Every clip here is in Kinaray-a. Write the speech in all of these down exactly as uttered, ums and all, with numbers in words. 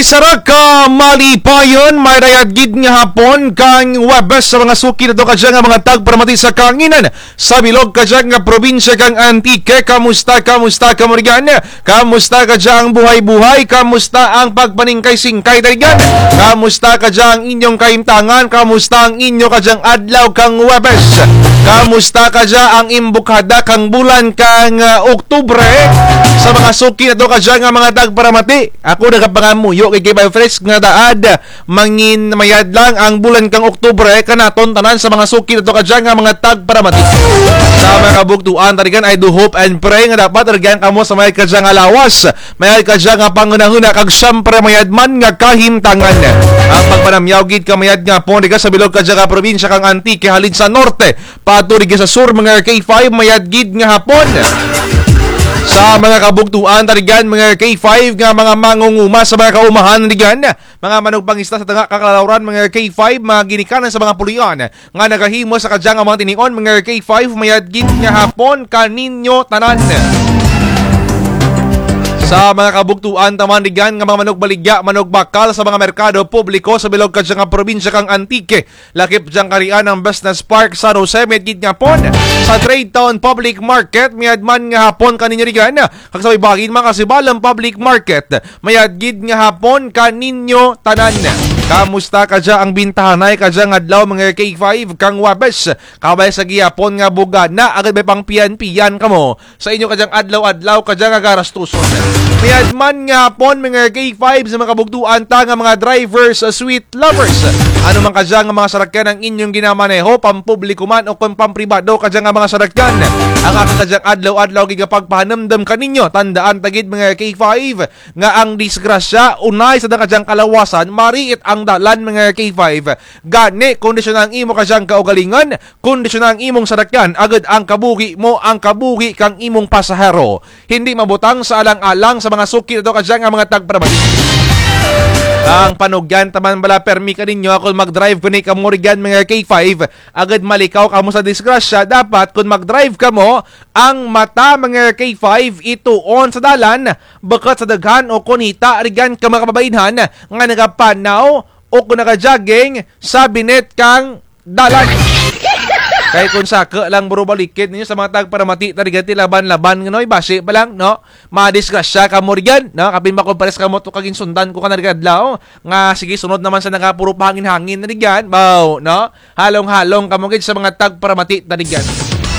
Sara ka malipayon, mayad gid nga hapon kang Huwebes sa mga suki nato kadya nga mga tagparamati sa kahanginan. Sa bilog kadya nga probinsya kang Antique, kamusta, kamusta kamo rugyan? Kamusta kadya ang buhay-buhay? Kamusta ang pagpaningkay-singkay ta rugyan? Kamusta kadya ang inyong kahimtangan? Kamusta ang inyo kadyang adlaw kang Huwebes? Kamusta kadya ang imbukada kang bulan kang, ah, Oktubre? Sa mga suki nato kadya nga mga tagparamati, ako nagapangamuyo kay K five Fresh nga daad, mangin mayad lang ang bulan kang Oktubre kanaton tanan sa mga suki nato kadya nga mga tagparamati. Sa mga kabugtuan ta rugyan, I do hope and pray nga dapat rugyan kamo sa mayad kadya nga lawas, mayad kadya nga panghunahuna, kag syempre mayad man nga kahimtangan. Ang pagpanamyaw gid ka mayad nga hapon rugya sa bilog kadya nga probinsya kang Antique, halin sa norte paadto rugya sa sur, mga K five, mayad gid nga hapon. Sa mga kabugtuan ta rugyan, mga K five, nga mga mangunguma sa mga kaumahan rugyan, mga manugpangista sa tanga kang kalalawran, mga K five, mga ginikanan sa mga pulian nga nagahimo sa kadya nga mga tinion, mga K five, mayad gid nga hapon kaninyo tanan. Sa mga kabugtuan ta man rugyan nga mga manugbaligya, manugbakal sa mga merkado publiko sa bilog kadya nga probinsya kang Antique, lakip dyang karian ang Business Park San Jose, mayad gid nga hapon. Sa Trade Town Public Market, mayad man nga hapon kaninyo rugyan. Kag sa baybayin, mga kasibalang public market, mayad gid nga hapon kaninyo tanan. Kamusta kadya ang bintahanay kadya nga adlaw, mga K five, kang Huwebes? Kabay sa gihapon nga bugana, agud bay pangpiyan-piyan kamo sa inyo kadyang adlaw-adlaw kadya nga garastuson. Mayad man nga hapon, mga K five, sa mga kabugtuan ta nga mga drivers, ah, sweet lovers. Ano man kadya nga mga sarakyan ang inyong ginamaneho, pampubliko man o kon pampribado kadya nga mga sarakyan, ang akun kadyang adlaw-adlaw gid nga pagpahanumdum kaninyo, tandaan ta gid, mga K five, nga ang disgrasya unay sa kadyang kalawasan, mariit ang dalan, mga K five. Gani, kondisyona ang imo kadyang kaugalingon, kondisyona ang imong sarakyan, agud ang kabuhi mo, ang kabuhi kang imong pasahero. Hindi mabutang sa alang-alang sa mga suki nato kadya nga mga tagparamati. Ang panugyan ta man bala permi kaninyo, kon mag-drive gani kamo rugyan, mga K five, agud malikaw kamo sa disgrasya, dapat kon mag-drive kamo, ang mata, mga K five, ituon sa dalan, bukut sa daghan o kon hita rugyan ka mga kababainhan nga nagapanaw o kon nagajogging sa binit kang dalan. Kay kon saku lang, bro, balikid ninyo sa mga tagparamati ta rugyan ti laban-laban, nganoy, basi pa lang, no? Madisgrasya kamo rugyan, no? Kapin ba kon pares kamo to ka ginsundan ko kana rugyan adlaw, nga sige, sunod na man sa nga puro pahangin-hangin na rugyan, baw, no? Halong-halong kamo gid sa mga tagparamati ta rugyan.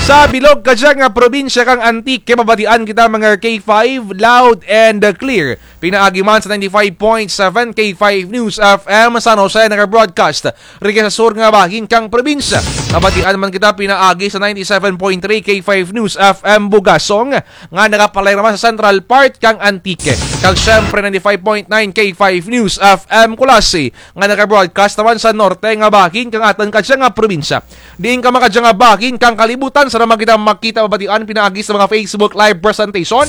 Sa bilog kadya nga probinsya kang Antique, mabatian kita, mga K five, loud and clear. Pinaagi man sa ninety-five point seven K five News F M San Jose, naga-broadcast rugya sa sur nga bahin kang probinsya. Mabatian man kita pinaagi sa ninety-seven point three K five News F M Bugasong, nga nagapalayo man sa central part kang Antique. Kag syempre, ninety-five point nine K five News F M Culasi, nga naga-broadcast naman sa norte nga bahin kang atun kadya nga probinsya. Diin ka man kadya nga bahin kang kalibutan, sara man kita makita, mabatian pinaagi sa mga Facebook Live presentation.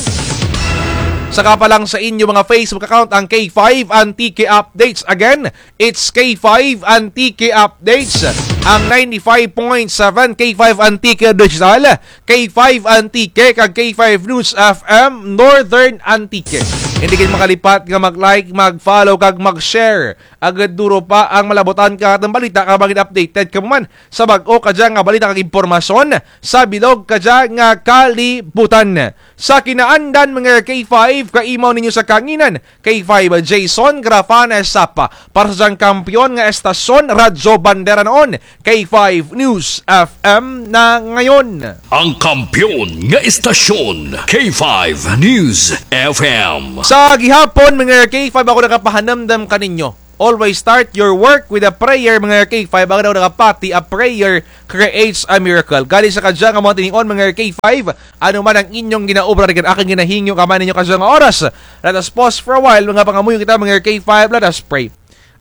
Saka pa lang sa inyo mga Facebook account, ang K five Antique Updates. Again, it's K five Antique Updates. Ang ninety-five point seven K five Antique Digital, K five Antique, kag K five News F M Northern Antique. Hindi gid makalipat nga mag-like, mag-follow, kag mag-share. Agud duro pa ang malabutan kang atun balita, kag maging updated kamo man sa bag-o kadya nga balita kag impormasyon sa bilog kadya nga kalibutan. Sa kinaandan, mga K five, kaimaw ninyo sa kahanginan, K five Jason Grafana Sapa. Para sa dyang kampiyon nga estasyon, Radyo Bandera noon, K five News F M na ngayon. Ang kampiyon nga estasyon, K five News F M. Sa gihapon, mga K five, ako nagapahanumdum kaninyo. Always start your work with a prayer, mga K five. Ang daw nakapati, a prayer creates a miracle. Gali sa kadya nga mga tinion, mga K five, ano man ang inyong ginaobra, rugyan akun ginahingyo kamo ninyo kadya nga oras. Let us pause for a while, mga pangamuyo kita, mga K five. Let us pray.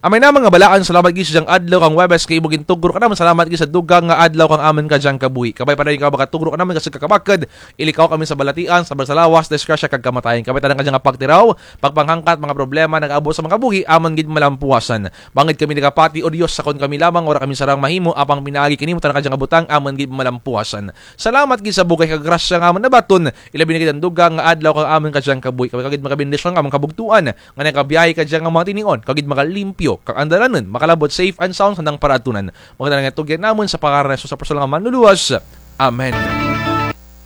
Amay namun nga balaan, salamat gid sa dyang adlaw kang Huwebes kay imo gintugro kanamun, salamat gid sa dugang nga adlaw kang amun kadyang kabuhi. Kabay pa dayon ikaw makatugro kanamun, kasug ka kabakod, ilikaw kami sa balatian, sa salawas, disgrasya kag kamatayon. Kabay tanan kadyang pagtiraw, pagpanghangkat, mga problema, nag-aabot sa mga kabuhi, amun gid malampuasan. Bangud kami nagapati, O Dios, sakon kami lamang, wara kami sarang mahimo, apang pinaagi kanimo tanan kadyang butang, amun gid malampuasan. Salamat gid sa bugay kag grasya nga amun nabaton, ilabi na gid ang dugang nga adlaw kang amun kadyang kabuhi. Kabay ka gid makabendisyon kang amun kabugtuan, nga nagabiyahe kadya nga mga tinion, kag gid makalimpyo, kag ang dalanon, makalabot safe and sound sa andang paraadtunan. Magdala nga tugyan namun sa pangaran ni Jesus sa personal nga manluluwas. Amen.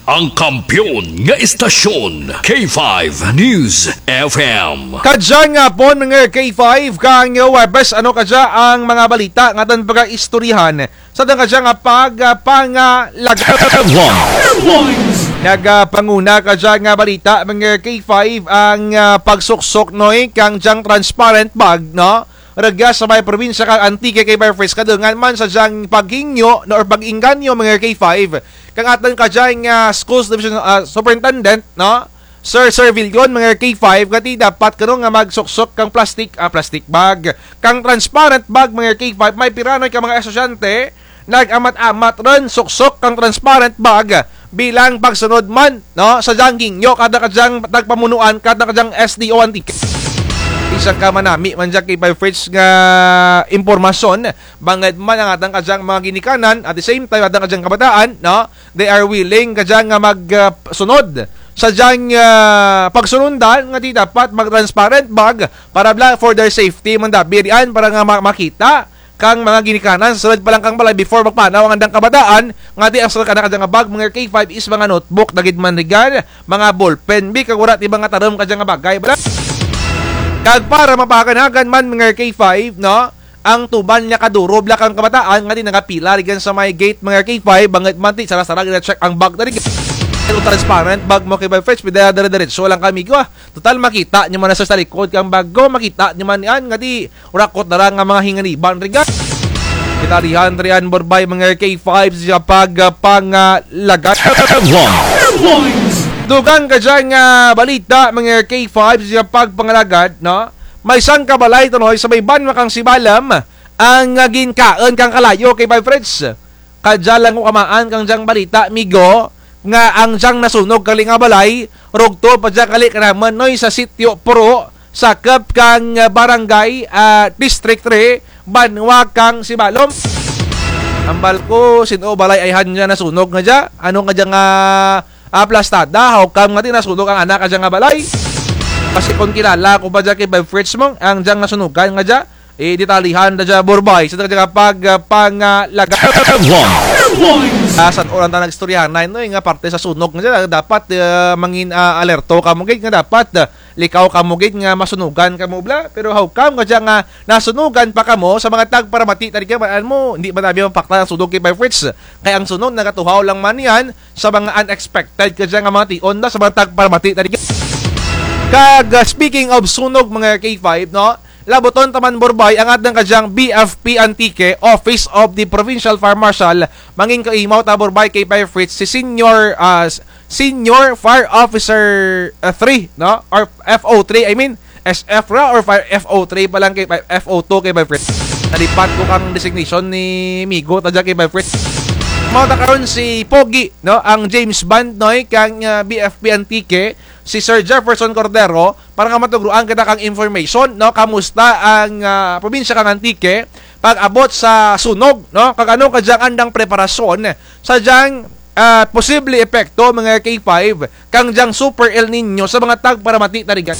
Ang kampiyon nga istasyon, K five News F M. Kadya nga hapon, mga K five, kang Huwebes, ano kadya ang mga balita nga atun pagaistoryahan sa atun kadya nga pag, ah, pangalagad. Headlines. Nagapanguna kadya nga balita, mga K five, ang, ah, pagsuksok, noy, kang dyang transparent bag, no? Rugya sa may probinsya kang Antique, K five Fritz, kadungan man sa dyang paghingyo, no, or pag-engganyo, mga K five, kang atun kadya nga schools division, ah, superintendent, no? Sir, Sir Vilgon, mga K five, nga ti dapat kuno nga magsuksok kang plastic, ah, plastic bag, kang transparent bag, mga K five, may pira noy ka mga estudyante, nag-amat-amat run suksok kang transparent bag bilang pagsunod man, no, sa dyang hingyo kang kadyang tagpamunuan, kang kadyang S D O Antique. Isa ka manami man dya K five Fritz nga impormasyon, bangud man ang atun kadyang mga ginikanan, at the same time, atun kadyang kabataan, no, they are willing kadya nga mag, ah, sunod sa dyang, ah, pagsunundan nga ti dapat mag-transparent bag para bala for their safety man dabi riyan, para nga ma-, makita kang mga ginikanan sa sulud pa lang kang balay before magpanaw ang andang kabataan, nga ti ang sulud kang kadyang bag, mga K five, is mga notebook, dagid man rigan, mga ballpen, bi, kag wara ti mga tarum kadya nga bagay bala. Kag para mapahagan-hagan man, mga K five, no, ang tuban nga kaduro bala kang kabataan nga ti nagapila rigan sa may gate, mga K five, bangud man ti sara-sara gina-check ang bag na rigan. Pero transparent bag mo, K five Fritz, pwede dire-diretso lang kami ko, ah. Total, makita nyo man na sa, sa likod kang bag ko, makita nyo man yan, nga ti, wara ko tara nga mga hinganiban rigan. Gitalihan riyan, Borbay, mga K five, sa pag, ah, pangalagad. Headlines. Dugang kadya nga balita, mga K five, sa pagpangalagad, no? May sangka balay, tanoy, sa may banwa kang Sibalom, ang, ah, ginkaun kang kalayo, K five Fritz. Kadya lang ko kamaan kang dyang balita, migo, nga ang dyang nasunog kali nga balay, rugto pa dya kali kanamun, noy, sa Sitio Puro, sakup kang, ah, barangay, ah, District three, banwa kang Sibalom. Hambal ko, sin-o balay ayhan dya nasunog nga dya? Ano nga dya nga aplastada, how come nga ti nasunog ang ana kadya nga balay? Kasi kon kilala ko pa dya K five Fritz mo, ang dyang nasunugan nga dya, eh, ditalihan ta dya, Borbay, sa dya pag, ah, pangalagad. Headlines. Ah, san-o lang ta nagistoryahan, noy, nga parte sa sunog nga dya, dapat, ah, mangin, ah, alerto kamo gid, nga dapat, ah, likaw kamo gid nga masunugan kamo bala. Pero how come nga dya nga nasunugan pa kamo sa mga tagparamati ta rigan, man-an mo, indi man abi mapaktan ang sunog, K five Fritz. Kay ang sunog nagatuhaw lang man yan sa mga unexpected kadya nga mga tion da sa mga tagparamati ta rigan. Kag, ah, speaking of sunog, mga K five, no? Labuton ta man, Borbay, ang atun kadyang B F P Antique, Office of the Provincial Fire Marshal, mangin kaimaw ta, Borbay, K five Fritz, si Senior, ah, s-, Senior Fire Officer, ah, three, no? Or F O three, I mean, S F ra or fire, F O three pa lang, K five, F O two, K five Fritz. Nalipat ko kang designation ni migo ta dya, K five Fritz. Mao ta karon si Pogi, no, ang James Bond, noy, kang, ah, B F P Antique, si Sir Jefferson Cordero, para nga matugroan kita kang information, no, kamusta ang, ah, probinsya kang Antique pag-abot sa sunog, no, kag ano kadyang andang preparasyon sa dyang ah, posible epekto, mga K five, kang dyang Super El Niño sa mga tagparamati ta rigan.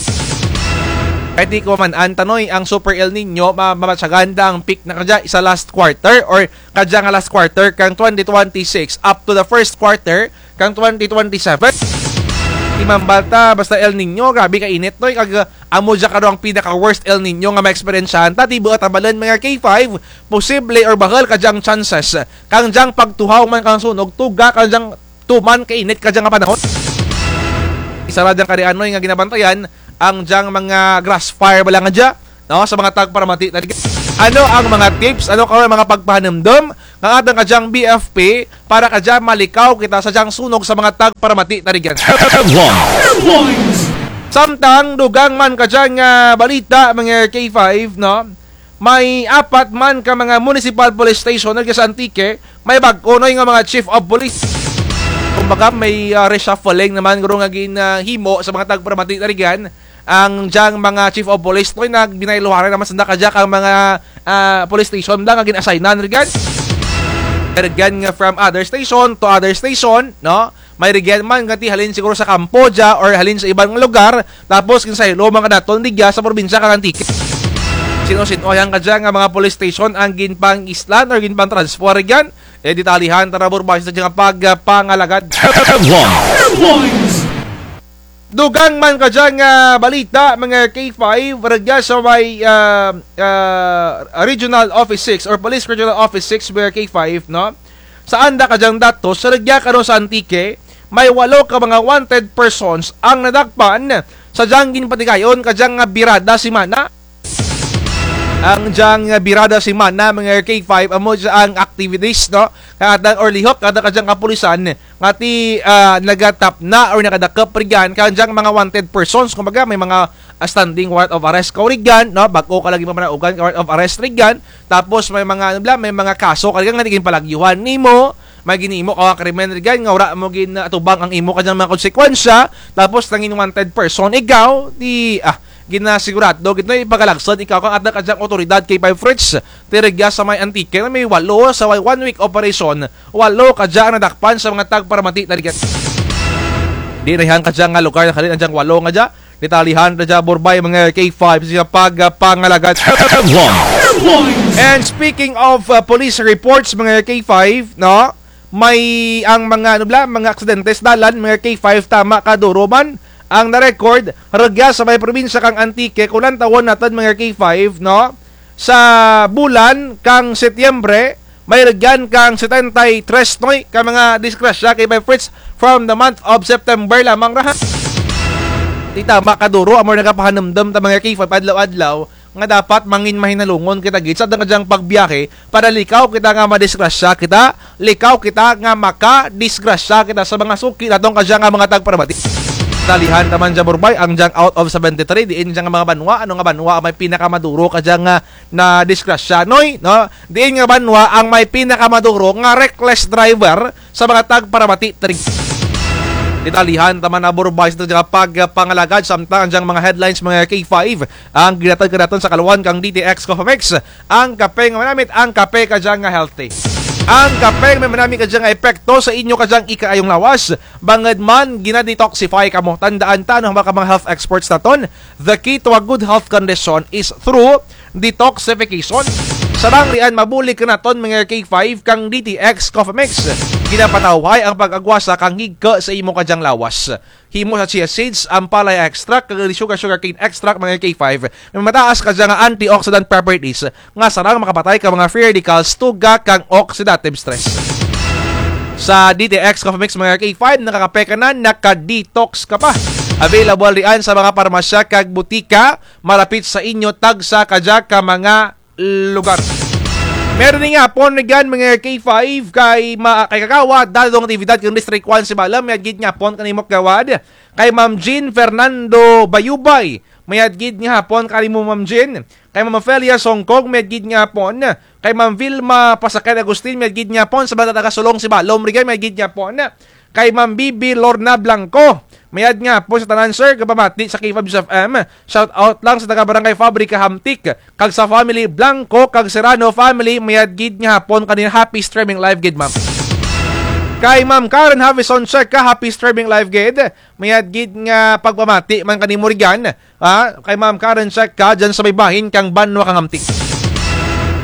Kay ti ko man-an, tanoy, ang Super El Niño, ma-, mamatyagan ta ang peak na kadya sa last quarter or kadya nga last quarter kang twenty twenty-six up to the first quarter kang twenty twenty-seven. Imambal ta, basta El Niño, grabe ka init, noy, kag, ah, amo dya karon ang pinaka-worst El Niño nga ma-experience-an ta, ti buot hambalun, mga K five, posible or bahul kadyang chances kang dyang pagtuhaw man kang sunog, tuga kang dyang tuman kainit kadya nga panahon. Isara dyang karian, noy, nga ginabantayan ang dyang mga grass fire bala nga dya, no, sa mga tagparamati ta rigan. Ano ang mga tips, ano karon mga pagpahanumdum kang atun kadyang B F P para kadya malikaw kita sa dyang sunog sa mga tagparamati ta rigan? Headlines. Samtang dugang man kadyang, ah, balita, mga K five, no? May apat man ka mga municipal police station rugya sa Antique, may bag-o, Noy, nga mga chief of police. Kumbaga, may, ah, reshuffling naman guro nga ginhimo sa mga tagparamati na rugyan. Ang dyang mga chief of police, Noy, nga binayluharan naman sanda kadya kang mga, ah, police station da nga gin-assignan rugyan. Rugyan nga from other station to other station, no? May rugyan man nga ti halin siguro sa kampo dya or halin sa iban nga lugar, tapos ginsaylo man kanaton rugya sa probinsya kang Antique. Sino-sino-an kadya nga mga police station ang ginpang-islan or ginpang-transfer rugyan? E, detalyehan tana, Borbay, sa dyang pagpangalagad. Headlines. Dugang man kadya nga balita, mga K five, rugya sa may, ah, ah, Regional Office six or Police Regional Office six, mga K five, no? Sa anda kadyang datos, sa rugya kano sa Antique, may walo ka mga wanted persons ang nadakpan sa dyang ginpatigayon kadyang nga birada semana. Ang dyang birada semana, mga K five, amo dya ang activities, no? Kang atang or lihok kang atang kadyang kapulisan nga ti, ah, nagatapna or nakadakop rugyan kang dyang mga wanted persons. Kumbaga, may mga, ah, standing warrant of arrest kaw rugyan, no? Bag-o ka lang ginpamanaugan kang warrant of arrest rugyan. Tapos may mga, ano bala, may mga kaso ka rugyan nga ti ginpalagyuhan nimo, may ginhimo kaw nga krimen rugyan nga wara mo gin-, ah, atubang ang imo kadyang mga konsekwensya. Tapos nangin wanted person ikaw, ti, ah, ginasigurado gid, no, ipagalagsad ikaw kang atang kadyang awtoridad, K five Fritz. Ti rugya sa may Antique, Noy, may walo sa one week operation, walo kadya ang nadakpan sa mga tagparamati na rugyan. Diin rugyan kadya nga lugar nakalin ang dyang walo nga dya? Detalyehan ta dya, Borbay, mga K five, sa pagpangalagad. Headlines. And speaking of, uh, police reports, mga K five, no? May ang mga, ano bala, mga aksidente sa dalan, mga K five, tama kaduro man ang na-record rugya sa may probinsya kang Antique, kon lantawon natun, mga K five, no? Sa bulan kang Setyembre, may rugyan kang setenta y tres, Noy, ka mga disgrasya, K five Fritz, from the month of September lamang ra, ha. Ti tama kaduro, amo nagapahanumdum ta, mga K five, adlaw-adlaw, nga dapat mangin mahinalungon kita gid sa atun kadyang pagbiyahe, para likaw kita nga madisgrasya kita, likaw kita nga makadisgrasya kita sa mga suki natun kadya nga mga tagparamati. Detalyehan ta man dya, Borbay, ang dyang out of seventy-three, diin dya nga mga banwa, ano nga banwa may pinakamaduro kadya nga nadisgrasya, Noy, no? Diin nga banwa ang may pinakamaduro nga reckless driver sa mga tagparamati, Tring. Detalyehan ta man, Borbay, sa atun dyang pagpangalagad, samtang ang dyang mga headlines, mga K five, ang ginhatod kanatun sa kaluwayan kang D T X Coffee Mix, ang kape nga manamit, ang kape kadya nga healthy. Ang kape nga manamit kadya nga epekto sa inyo kadyang ikaayong lawas, bangud man gina-detoxify kamo. Tandaan ta, ano, mga, mga health experts natun, the key to a good health condition is through detoxification. Sarang rian, mabulig kanatun, mga K five, kang D T X Coffee Mix. Ginapatawhay ang pag-agwasa kang higko sa imo kadyang lawas. Himo sa chia seeds, ampalaya extract, kag sugar, sugarcane extract, mga K five, may mataas kadya nga antioxidant properties nga sarang makapatay kang mga free radicals, tuga kang oxidative stress. Sa D T X Coffee Mix, mga K five, nakakape ka na, naka-detox ka pa. Available rian sa mga parmasya kag butika malapit sa inyo, tagsa kadya ka mga lugar. Meron ni nga hapon rugyan, mga K five, kay ma-, kay Kagawad Dadong Natividad kang District one Sibalom, mayad gid nga hapon kanimo, Kagawad. Kay Ma'am Jean Fernando Bayubay, mayad gid nga hapon kanimo, Ma'am Jean. Kay Ma'am Ofelia Songkog, mayad gid nga hapon. Kay Ma'am Vilma Pasakay Agustin, mayad gid nga hapon. Sa mga taga-Sulong Sibalom rugyan, mayad gid nga hapon. Kay Ma'am Bibi Lorna Blanco, mayad nga hapon sa tanan, sir, nga pamati sa K five News F M. Shout out lang sa taga Barangay Fabrica Hamtic, kag sa family Blanco kag Serrano family, mayad gid nga hapon kanila. Happy streaming live gid, ma'am. Kay Ma'am Karen Havison Checa, happy streaming live gid. Mayad gid nga pagpamati man kanimo rugyan, ha, kay Ma'am Karen Checa, dyan sa may bahin kang banwa kang Hamtic.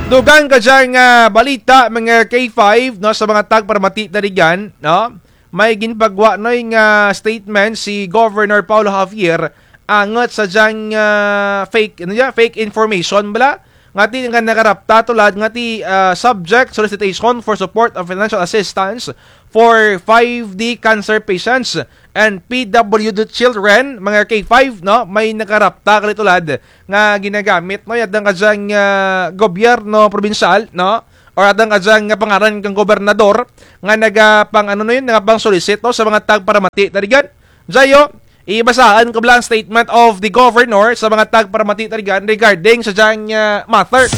Dugang kadya nga balita, mga K five, no, sa mga tagparamati na rugyan, no? May ginpagwa, Noy, nga statement si Governor Paolo Javier angut sa dyang, ah, fake, ano dya, fake information bala, nga ti nga nagarapta tulad nga ti, ah, subject solicitation for support of financial assistance for five D cancer patients and P W D children, mga K five, no? May nagarapta kali tulad nga ginagamit, no, yadang kadyang, ah, gobyerno probinsyal, no? Or yadang kadyang nga pangaran kang gobernador nga nagapang, ano na yun, nagapang-solicit, no, sa mga tagparamati. Tarigan, Jayo, Ibasahun ko bala ang statement of the governor sa mga tagparamati tarigan regarding sa dyang, ah, matter.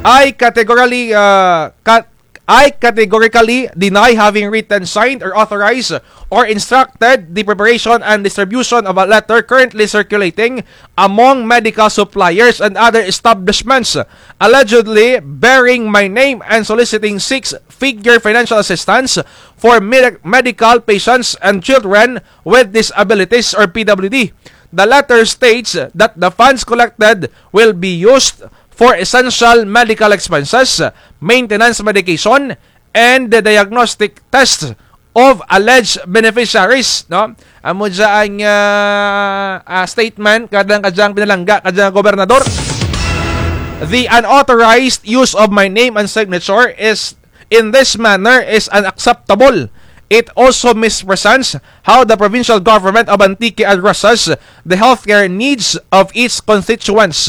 I categorically, ah, cat-, I categorically deny having written, signed, or authorized or instructed the preparation and distribution of a letter currently circulating among medical suppliers and other establishments allegedly bearing my name and soliciting six-figure financial assistance for med-, medical patients and children with disabilities or P W D. The letter states that the funds collected will be used for essential medical expenses, maintenance medication, and the diagnostic tests of alleged beneficiaries, no? Amo dya ang, ah, ah, statement kadya, kadya pinalangga kadya gobernador. The unauthorized use of my name and signature is in this manner is unacceptable. It also misrepresents how the provincial government of Antique addresses the healthcare needs of its constituents.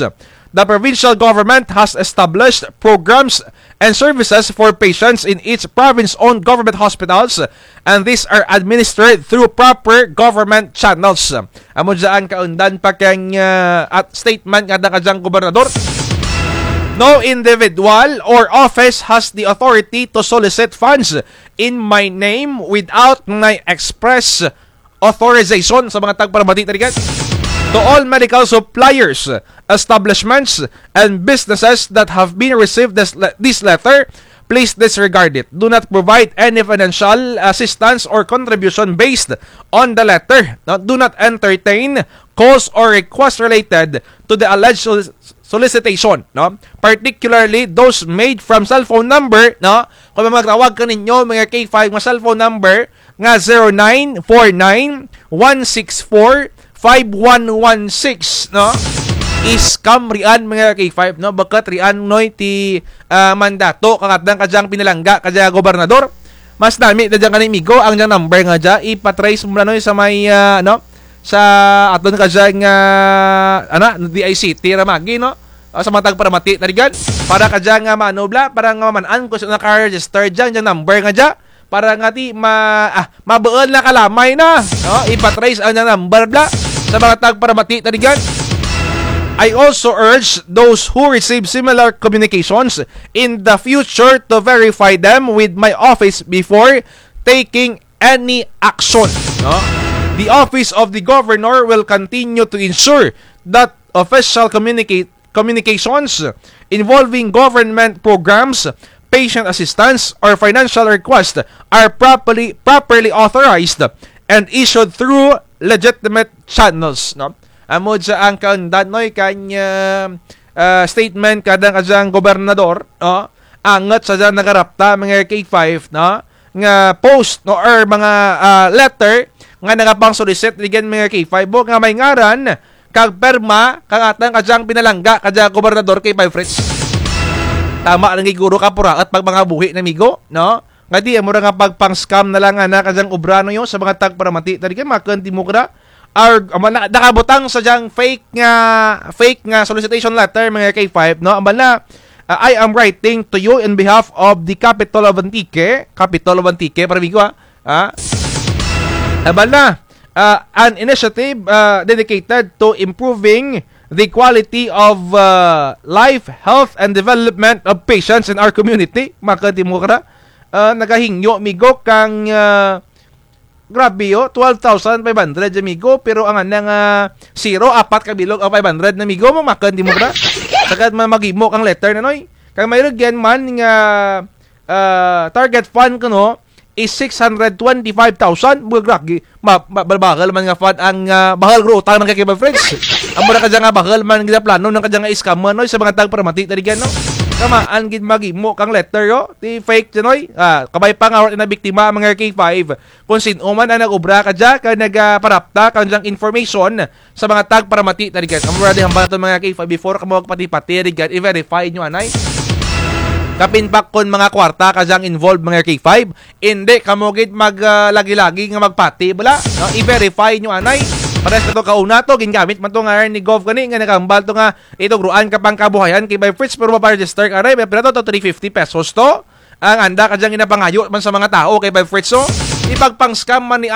The provincial government has established programs and services for patients in its province-owned government hospitals, and these are administered through proper government channels. Amo dya ang kaundan pa kang, ah, at statement nga kadyang gobernador. No individual or office has the authority to solicit funds in my name without my express authorization sa mga tagparamati tarigan. To all medical suppliers, establishments, and businesses that have been received this, le-, this letter, please disregard it. Do not provide any financial assistance or contribution based on the letter. No? Do not entertain calls or requests related to the alleged solic-, solicitation, no? Particularly those made from cellphone number, no? Kung magtawag kaninyo, mga K five, nga cellphone number, nga zero nine four nine, one six four, five one one six, no? Scam rian, mga K five, no? Bukut rian, Noy, ti, ah, mandato kang atun kadyang pinalangga kadya gobernador. Mas nami da dyan kani, migo, ang dyang number nga dya, ipa-trace mo ra, Noy, sa may, ah, ano, sa atun kadyang, ah, ano, D I C T ra magi, no? Ah, sa mga tagparamati tarigan. Para kadyang, ah, maano bala, para nga maman-an kon sin-o naka-register dyan, dyang number nga dya. Para nga ti ma-, ah, mabuul na kalamay na, no? Ipa-trace ang number bala sa mga tagparamati tarigan. I also urge those who receive similar communications in the future to verify them with my office before taking any action, no? The office of the governor will continue to ensure that official communicate communications involving government programs, patient assistance, or financial requests are properly, properly authorized and issued through legitimate channels, no? Amo dya ang kaundan, Noy, kang, ah, ah, statement kadya kadyang gobernador, no? Angut sa dyang nagarapta, mga K five, no? Nga post, no, or mga, ah, letter nga nagapang-solicit, again, mga K five, o, nga may ngaran kag pirma kang atun kadyang pinalangga kadya gobernador, K five Fritz. Tama lang gid guro ka puraot pagpangabuhi na, migo, no? Nga di, amo ra nga pagpang-scam na lang ana kadyang obra, no, yo, sa mga tagparamati tarigan, makun ti mo kara. Or, amo na, nakabutang sa dyang fake nga, fake nga solicitation letter, mga K five, no? Amo na, ah, I am writing to you in behalf of the Capitol of Antique, Capitol of Antique, para migo, ah. Ah? Amo na, ah, an initiative, ah, dedicated to improving the quality of, ah, life, health, and development of patients in our community. Makun ti mo kara. Ah, nagahingyo, migo, kang, ah, grabe, o, twelve thousand five hundred, migo, pero ang ana nga zero, apat ka bilog ang five hundred na, migo, mo, makun ti mo kara. Sagad man maghimo kang letter na, Noy. Kang may rugyan man nga, ah, target fund kuno is six hundred twenty-five thousand, mga gragi. Ma-, ma-, bahul man nga fund ang, ah, bahul guro utang nang K five Fritz. Amo ra kadya nga bahul man gid plano nang kadya nga scammer, Noy, sa mga tagparamati tarigan, no? Kamaan gid maghimo kang letter, o. Ti fake dya, Noy. Ah, kabay pa nga wara nabiktima ang mga K five. Kon sin-o man ang nag-obra kadya, kag nagaparapta kang dyang information sa mga tagparamati tarigan. Amo ra di hambal natun, mga K five, before kamo magpati-pati rugyan, i-verify nyo anay. Kapin pa kon mga kwarta kadyang involved, mga K five, indi kamo gid mag, ah, lagi-lagi nga magpati bala, no? I-verify nyo anay. Parehas kato kauna to, gingamit man to nga ni Gov gani, nga nagahambal to nga itugroan ka pang kabuhayan, K five Fritz, pero mapa-register ka anay, may pira to, to three fifty pesos to. Ang anda kadyang ginapangayo man sa mga tao, K five Fritz, o. Ipagpang-scam man ni